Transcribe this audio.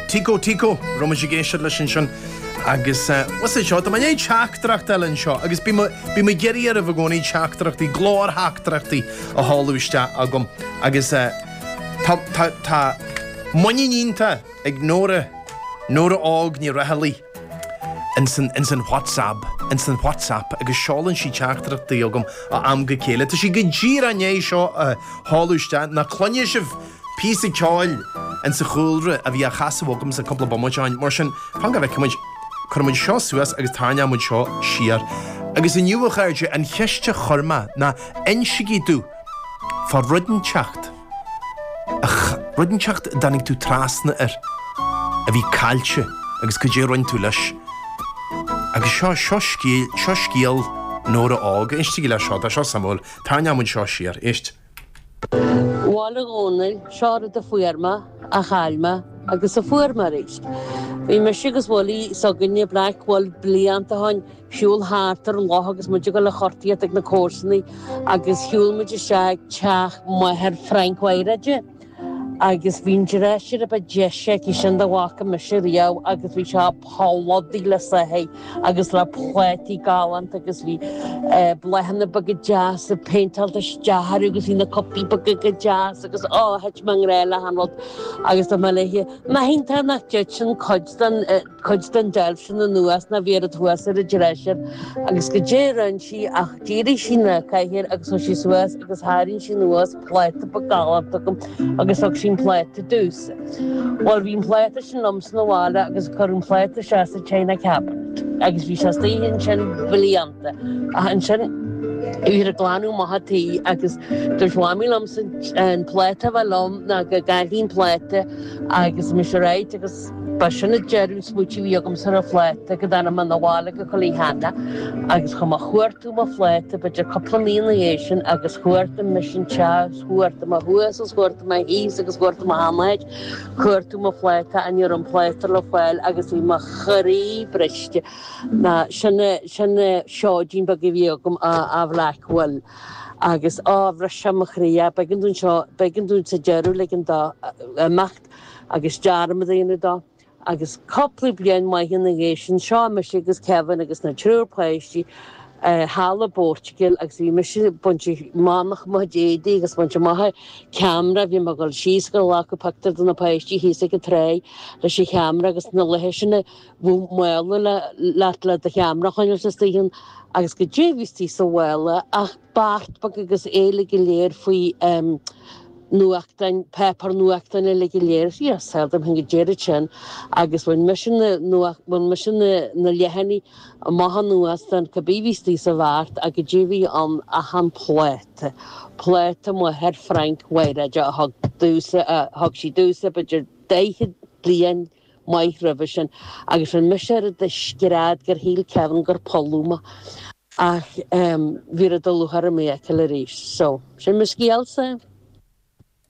Tico Tico, raibh muid ag éisteacht leis ansin agus what's it seo, tá mé i ndiaidh teachtaireacht a fháil anseo agus bím bím ag iarraidh oraibh i gcónaí teachtaireachtaí, glórtheachtaireachtaí a sheoladh isteach chugam agus tá tá tá muinín iontach ag Nóra, Nóra Óg Ní Raghallaigh ins an ins an WhatsApp, ins an WhatsApp agus seolann sí teachtaireachtaí chugam ó am go chéile. Tá sí go díreach i ndiaidh seo a sheoladh isteach, nach cluinfidh sibh píosa ceoil insa chúlra a bhí á chasadh agamsa cúpla bomaite ó shin. Mar sin, fan go bhfeicfidh muid. Cuirfidh muid seo suas agus tarraingeoidh muid seo siar. Agus inniu, a chairde, an cheist a chuir mé ná insigí domh fá rud inteacht, rud inteacht a dtáinig tú trasna air a bhí caillte agus cad é a rinne tú leis. Agus seo, seo scéal, seo scéal Nóra Óg. Éistigí leis seo, tá seo suimiúil. Tarraingeoidh muid seo siar. Éist. Bhuel a Dhónaill, seo rud a fuair mé, a chaill mé, agus a fuair mé arís. Bhí mise agus Willie s'againne, Black Will, blianta ó shin, siúl thart ar an loch agus muid ag dul a chortaíocht ag na comharsanaí agus shiúl muid isteach ag teach máthair Frank Mhaíréide agus bhí an dresser a ba deise aici sin dá bhfaca mise riamh agus bhí sé plódaithe le soithí agus le plátaí galánta agus bhí bláthanna beaga deasa péinteáilte isteach orthu agus bhí na cupaí beaga go deas agus á thit mé i ngrá le han rud agus dúirt mé léi nach iontach nach dtiteann cuid den cuid den deilf sin anuas ná bhí oiread thuas ar an dresser agus goidé a rinne sí ach d'éirigh sí ina cathaoir agus chuaigh sí suas agus tharraing sí anuas pláta beag galánta agam agus thug sí an pláta domhsa. Bhuel bhí an pláta sin liomsa 'na bhaile agus cuireadh an pláta isteach sa china cabinet agus bhí sé istigh ansin blianta ach ansin bhíothar ag glanadh amach an tí agus dúirt Mamaí liomsa an pláta a bheith liom ná go gcaillfinn an pláta agus mise right agus Ba sin an deireadh smaoitiú a bhí agamsa ar an phláta go dtáinig mé 'na bhaile go Cill Aithne agus chuaigh mé a chuartú mo phláta b'fhéidir cúpla mí ina dhiaidh sin agus chuartaigh mise an teach is chuartaigh mé thuas is chuartaigh mé thíos agus chuartaigh mé achan áit cuartú mo phláta ach ní raibh an pláta le fáil agus bhí mo chroí briste ná sin sin seoidín beag a bhí agam ó Bhlack Will agus á bhris sé mo chroí b'éigean dúinn seo b'éigean dúinn sa deireadh ligean dó imeacht. agus dearmad a dhéanamh dó agus cúpla bliain maith ina dhiaidh sin, seo mise agus Kevin agus na triúr páistí thall i bPortugal agus bhí mise ag baint amach mo chuid éadaí agus baint amach an ceamara, bhí mé ag dul síos ag glacadh pictiúr de na páistí thíos ag an tráigh leis an cheamara agus na laethe sin a bhíodh mála leat le do cheamara a choinneáil istigh ann agus goidé a bhí istigh sa mhála ach beart beag agus é uilig go léir faoi nuachtáin, páipéar nuachtáin uilig go léir. Yes, saol dom féin goidé an rud sin agus bhain mise na nuacht, bhain mise na na leathanaigh amach anuas den cibé bhí istigh sa bheart ach goidé bhí ann ach an pláta, pláta máthair Frank Mháiréide a thug domhsa, a thug sí domhsa b'fhéidir 40 bliain maith roimhe sin agus rinne mise oiread de scread gur shíl Kevin gur polladh mé ach bhí rud a lúcháir orm é a fheiceáil arís. So, sin mo scéalsa.